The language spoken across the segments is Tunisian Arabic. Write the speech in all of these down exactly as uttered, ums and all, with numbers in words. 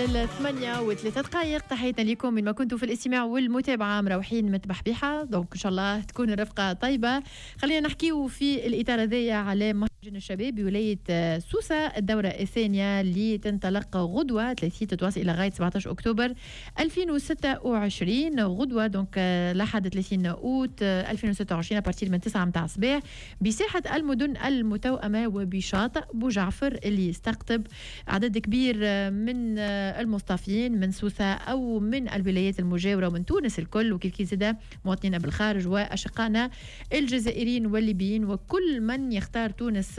للثمانية وثلاثة دقائق. تحياتنا لكم من ما كنتم في الاستماع والمتابعة، مروحين متبحبيحة، donc إن شاء الله تكون الرفقة طيبة. خلينا نحكيو في الإطار هذايا على مهرجان الشباب بولاية سوسة، الدورة الثانية اللي تنطلق غدوة ثلاثين، تتواصل إلى غاية سبعة عشر أكتوبر ألفين وستة وعشرين. غدوة donc لحد ثلاثين أوت ألفين وستة وعشرين à partir من تسعة متاع الصباح بساحة المدن المتوأمة وبشاطئ بوجعفر، اللي يستقطب عدد كبير من المصطافين من سوسة أو من الولايات المجاورة ومن تونس الكل، وكيف كيف زادة مواطنين بالخارج وأشقائنا الجزائريين والليبيين وكل من يختار تونس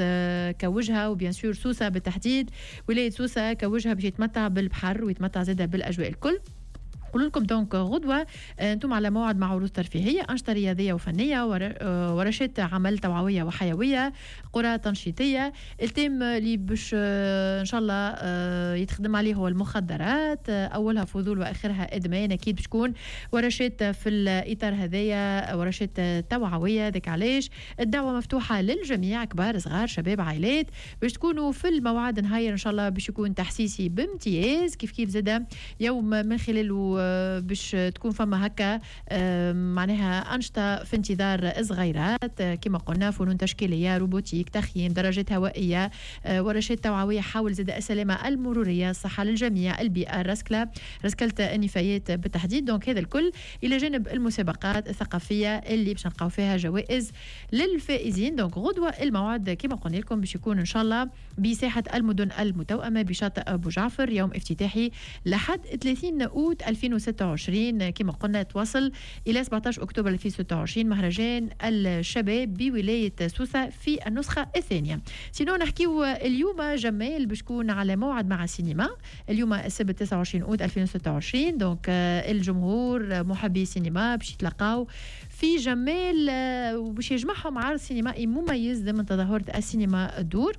كوجهة، و bien sûr سوسة بالتحديد، ولاية سوسة كوجهة، باش يتمتع بالبحر ويتمتع زادة بالأجواء الكل. نقول لكم donc غدوة آه، انتم على موعد مع عروض ترفيهية، أنشطة رياضية وفنية، آه، ورشات عمل توعوية وحيوية، قرى تنشيطية. ال thème اللي باش آه، إن شاء الله يتخدم عليه هو المخدرات، أولها فضول وآخرها إدمان. أكيد باش تكون ورشات في الإطار هذايا، ورشات توعوية. ذاك علاش الدعوة مفتوحة للجميع، كبار، صغار، شباب، عائلات، باش تكونوا في الموعد. نهاير إن شاء الله باش يكون تحسيسي بامتياز. كيف كيف زادة يوم من خلاله باش تكون فما هكا معناها أنشطة في انتظار صغيرات، كما قلنا فنون تشكيلية، robotique، تخييم، دراجات هوائية، آه، ورشات توعوية حول زاد السلامة المرورية، الصحة للجميع، البيئة، الرسكلة، رسكلة النفايات بالتحديد. donc هذا الكل إلى جانب المسابقات الثقافية اللي باش نلقاو فيها جوائز للفائزين. donc غدوة الموعد كما قلنا لكم باش يكون إن شاء الله بساحة المدن المتوأمة بشاطئ أبو جعفر، يوم افتتاحي لحد ثلاثين أوت ألفين وستة وعشرين، كما قلنا تواصل إلى سبعة عشر أكتوبر ألفين وستة وعشرين، مهرجان الشباب بولاية سوسة في النسخة الثانية. sinon نحكيو اليوم جمال باش تكون على موعد مع السينما، اليوم السبت تسعة وعشرين أوت ألفين وستة وعشرين. donc الجمهور محبي السينما باش يتلقاو في جمال وباش يجمعهم عرض سينمائي مميز ضمن تظاهرة السينما الدور،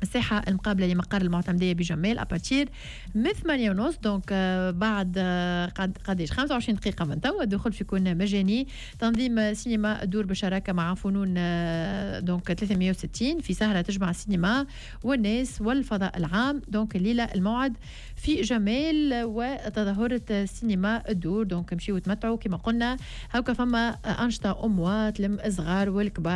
الساحة المقابلة لمقر المعتمدية بجمال، à partir من ثمانية ونص، donc آه، بعد آه، قد قداش خمسة وعشرين دقيقة من توا. الدخول باش يكون مجاني. تنظيم سينما الدور بشراكة مع فنون آه، donc ثلاثمية وستين، في سهرة تجمع السينما والناس والفضاء العام. donc الليلة الموعد في جمال وتظاهرة سينما الدور، donc مشيو تمتعوا. كما قلنا هاكا فما أنشطة أموات لم الصغار والكبار.